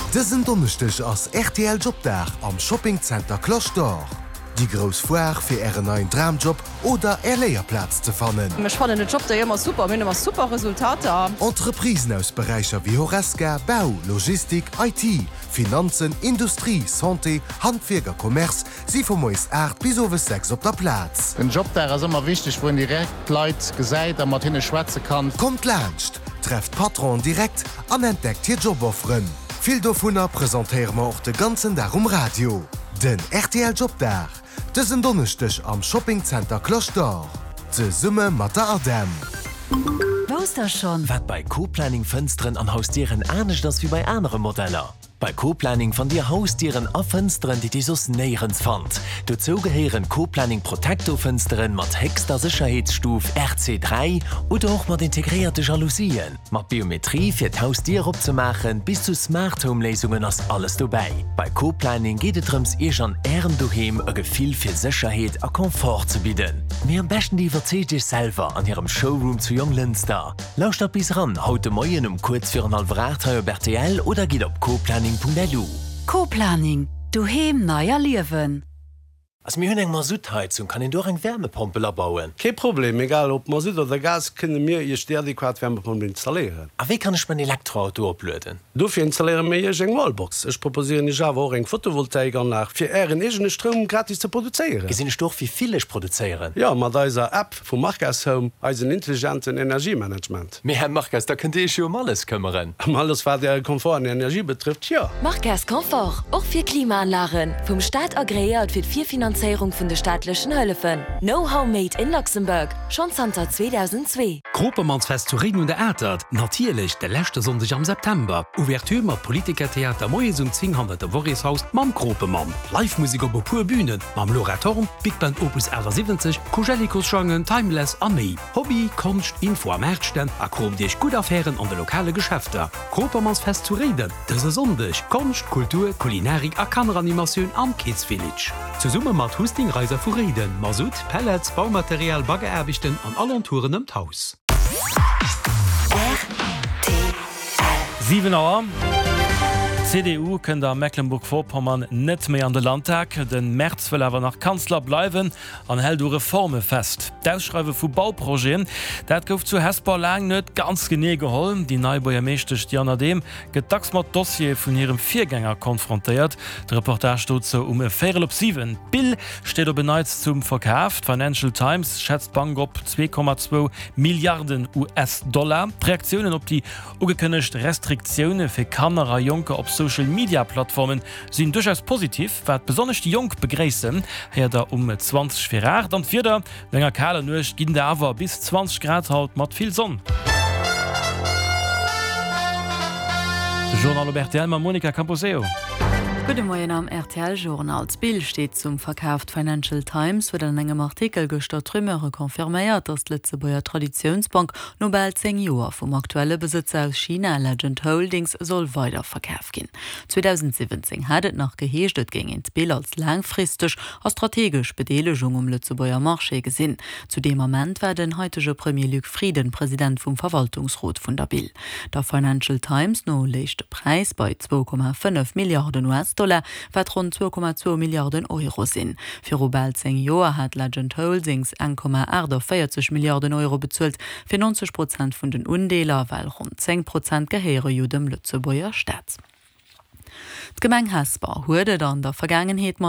Dësen Donneschdeg ass rtl Jobdag am Shopping Center Cloche d'Or. Déi grouss Foire fir ären neien Dramjob oder är Léierplaz ze fannen. Ech fannen den Jobday ëmmer super, mir hunn ëmmer super Resultater. Entreprisen aus Beräicher wéi Horesca, Bau, Logistik, IT, Finanzen, Industrie, Santé, Handwierk a Commerce si vu moies 8 bis owes 6 op der Plaz. Den Jobdag ass ëmmer wichteg, wou een direkt d'Leit gesäit a mat hinne schwätze kann. Kommt laanscht, trefft d'Patronen direkt an entdeckt hir Jobofferen. Vill dovunner presentéiere mer och de ganzen Dag um Radio. Den rtl Jobdag, dësen Donneschdeg am Shopping Center Cloche d'Or, zesumme mat der ADEM. Wousst der schonn? Wat bei Co-Planning Fënsteren an Hausdieren anescht ass wéi bei anere Modeller? Bei Co-Planning fannt Dir Hausdieren a Fënsteren, déi Dir soss néierens fannt. Dozou gehéieren Co-Planning Protecto Fënsteren mat héchster Sécherheetsstuf RC3 oder och mat integréierte Jalousien, mat Biometrie fir d'Hausdier opzemaachen, bis zu Smart Home Léisungen ass alles dobäi. Bei Co-Planning geet et drëms Iech an Ärem Doheem e Gefill fir Sécherheet a Confort ze bidden. Mee am beschten Dir iwwerzeegt Iech selwer an hirem Showroom zu Jonglënster. Lauschtert bis eran haut de Moien um kuerz virun hallwer 8 hei op rtl oder gitt op coplanning.lu. Co-Planning, Doheem nei erliewen. Also mir hunn eng Masuttheizung, kann een do och eng Wärmepompel abauen? Kee Problem, egal ob Masutt oder Gas, kënne mir Iech déi adequat Wärmepompel installéieren. A wéi kann ech mäin Elektroauto oplueden? Dofir installéiere mir Iech eng Wallbox. Ech proposéieren Iech awer och eng Photovoltaikanlag, fir Ären eegene Stroum gratis ze produzéieren. Gesinn ech do och wéi vill ech produzéieren? Jo, mat eiser App vu Marques Home, eisen intelligenten Energiemanagement. Mee Här Marques, da kënnt Dir Iech jo ëm alles këmmeren. Ëm alles wat Äre Komfort an Energie betrëfft, jo. Marques Confort, och fir Klimaanlagen, vum Staat agreéiert fir d'Virfinanzéierung vun de staatlechen Hëllefen. Know-how made in Luxembourg, schonn zanter 2002. Kropemannsfest zu Réiden un der Atert, natierlech de leschte Sonndeg am September. Ouverture mat Politikertheater moies um 10 hannert dem Worreshaus mam Kropemann. Live-Musek op e puer Bünen mam Laura Thorn, Big Band Opus 78, Koujellikos-Jangen, Timeless a méi. Hobby, Konscht, Info a Maartstänn a kroomt iech gutt Affären an de lokale Geschäfter. Kropermannsfest zu Réiden dëse Sonndeg, Konscht, Kultur, Kulinarik a Kanneranimatioun am Kids Village. Zesumme mat Husting Reiser vu Réiden, Masutt, Pellets, Baumaterial, Baggeraarbechten an Alentouren ëm d'Haus. Rtl. 7 Auer. D'CDU kënnt a Mecklenburg-Vorpommern net méi an de Landtag. De Merz wëll awer nach Kanzler bleiwen an hält u Reforme fest. D'Ausschreiwe vu Bauprojeten, dat gouf zu Hesper laang net ganz genee geholl. Déi nei Buergermeeschtesch Diana Dehm gëtt dacks mat Dossiere vun hirem Virgänger konfrontéiert. De Reportage dozou um e Véierel op 7. D'Bill steet op en Neits zum Verkaf. D'Financial Times schätzt d'Bank op 2,2 Milliarden US-Dollar. D'Reaktiounen op déi ugekënnegt Restriktioune fir Kanner a Jonker op Social-Media-Plattforme sinn duerchaus positiv, wat besonnesch déi Jonk begréissen, héiert der um 20 vir 8. An d'Wieder, No enger kaler Nuecht ginn et awer bis 20 Grad haut mat vill Sonn. De Journal op rtl mam Monica Camposeo. Gudde Moien am rtl Journal. D'Bill steet zum Verkaf. D'Financial Times huet an engem Artikel gëschter d'Rumeure confirméiert, datt d'Lëtzebuerger Traditiounsbank no bal 10 Joer vum aktuelle Besëtzer aus China, Legend Holdings, soll weider verkaf ginn. 2017 hat et nach geheescht, et géing een d'Bill als laangfristeg a strategesch Bedeelegung um Lëtzebuerger Marché gesinn. Zu deem Ament war den haitege Premier Luc Frieden President vum Verwaltungsrot vun der Bill. Der Financial Times no léich de Präis bei 2,5 Milliarden US-Dollar, wat ronn 2,2 Milliarden Euro sinn. Viru bal 10 Joer hat Legend Holdings 1,48 Milliarden Euro bezuelt fir 90 Prozent vun den Undeeler, well ronn 10 Prozent gehéiere jo dem Lëtzebuerger Staat. D'Gemeng Hesper huet et an der Vergaangenheet mat.